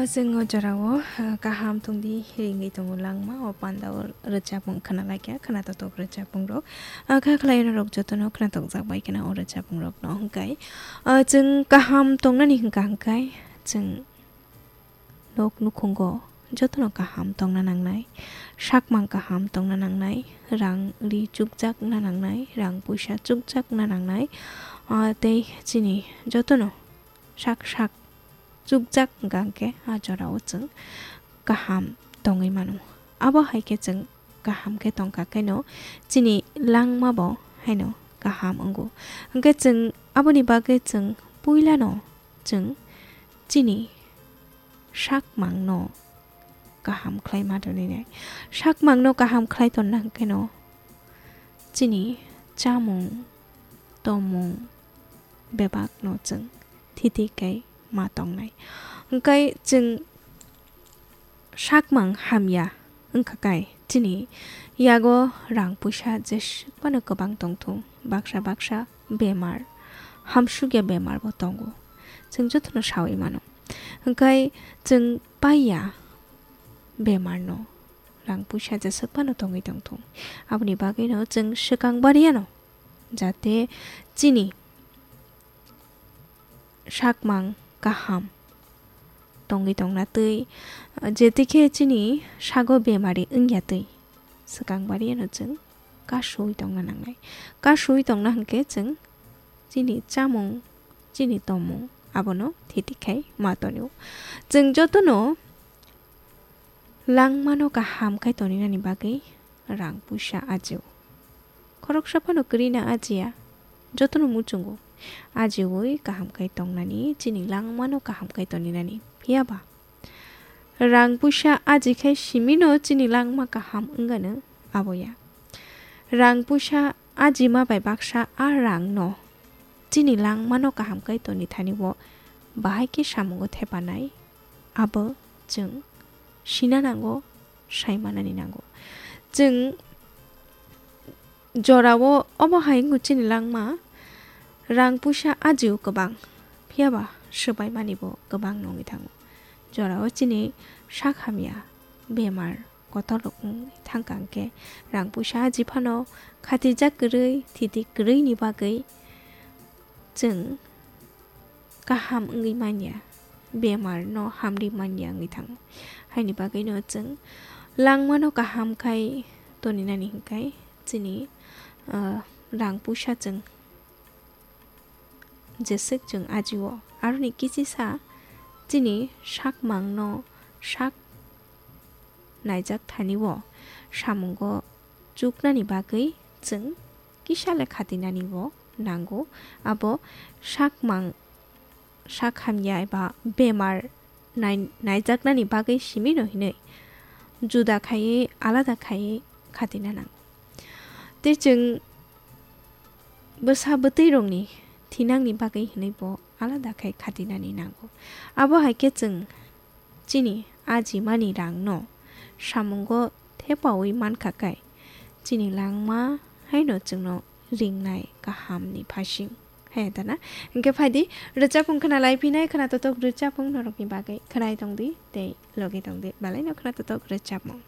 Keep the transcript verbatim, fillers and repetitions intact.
Chwng o jorao, ah, kaham tongdi ringwi tongo langma o panda o rwchapmung khna laikha, khna totok rwchapmung rok. Ah, kha khlai norok jotono khna tokjak bai khna o rwchapmung rok no hwnkhe. Ah, chwng kaham tongnani hwnkha hwnkhe chwng nok nukhungo jotono kaham tongna nangnai, sakmang kaham tongna nangnai, rang ri chukjakna nangnai, rang puisa chukjakna nangnai, ah, tei chini jotono sak sak chukjak hwnkha hwnkhe a jorao chwng kaham tongwi mano. Abo hai khe chwng kaham khe tongkha khe no chini langma bo haino kaham wngo. Hwnkhe chwng aboni bagwi chwng puila no chwng chini sakmang no kaham khlai ma tongwi nai. Sakmang no kaham khlai tonna hwnkhe no chini chamung, tomung, bebak no chwng thiti khe ma tongnai. Hwnkhe chwng sakmang hamya wngkha khe chini yago rang puisa jeswk phano kwbang tongthung, baksa baksa bemar, hamsukya bemar bo tongo, chwng jotono sawi mano. Hwnkhe chwng paiya bemar no rang puisa jeswk phano tongwi tongthung, aboni bagwi no chwng swkang bariya no jate chini sakmang kaham tongwi tongna twi, jete khe chini sago bemari wngya twi swkang bariya no chwng kasui tongna nangnai. Kasui tongna hwnkhe chwng chini chamung, chini tomung abono thiti khai ma tonio. Chwng jotono langmano kaham khai toninani bagwi rang puisa ajio. Khoroksa phano kwrwi na ajiya, jotono muchungo. Ajiwi kaham khai tongnani, chini langmano kaham khai toninani. Phiya ba? Rang puisa aji khai simino chini langma kaham wngano aboya. Rang puisa ajima bai baksa a rangno chini langmano kaham khai toni thani o bahai khe samungo thepanai, abo chwng sina nango, sai manani nango. Chwng jorao obo hai wngwi chini langma rang puisa ajio kwbang, phiya ba swbai mani bo kwbang nongwi thango. Jorao chini sak hamya bemar kotor rok wngwi thangkha hwnkhe rang puisa aji phano khatijak kwrwi, thiti kwrwini bagwi chwng kaham wngwi manya, bemar no hamri manya wngwi thango. Haini bagwi no chwng langmano kaham khai toninani hwnkhe chini, ah, rang puisa chwng jeswk chwng ajio. Aroni kichisa chini sakmang no sak naijak thani o samungo chuknani bagwi chwng kisa le khatinani o nango. Abo sakmang sak hamya eba bemar nai-, naijaknani bagwi simi no hinwi juda khaiwi alada khaiwi khatina nango. Tei chwng bwsa bwtwi rokni thinangni bagwi hinwi bo alada khai khatinani nango. Abo hai khe chwng chini ajimani rangno samungo thepaui mankha khe, chini langma haino chwngno ringnai kahamni phasing. Hai da na? Hwnkhe phaidi, rwchapmung khna lai phinai, khna totok rwchapmung norokni bagwi khwnai tongdi tei logi tongdi. Belaino khna totok rwchapmung.